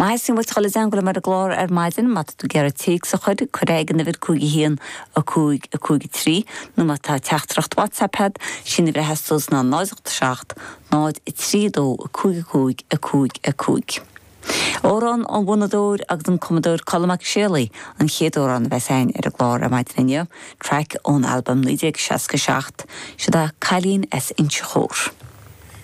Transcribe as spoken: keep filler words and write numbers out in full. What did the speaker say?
Má sin bhfuil chola go mar a glár ar maidin má tú ag iarraidh téacs a chur cuir ag an uimhir cúig haon a cúig a cúig trí nó má tá teachtaireacht WhatsApp agat sin a bhreithe ná náid seacht náid trí dó a cúig cúig a cúig a cúig. Amhrán an bhfonnadóir agus an cumadóir Colm Mac Séalaigh an chéad amhrán a bheas againn ar an gclár ar maidin inniu, traic ón albam naoi déag seasca seacht, seo é Cailín as Inse Chór.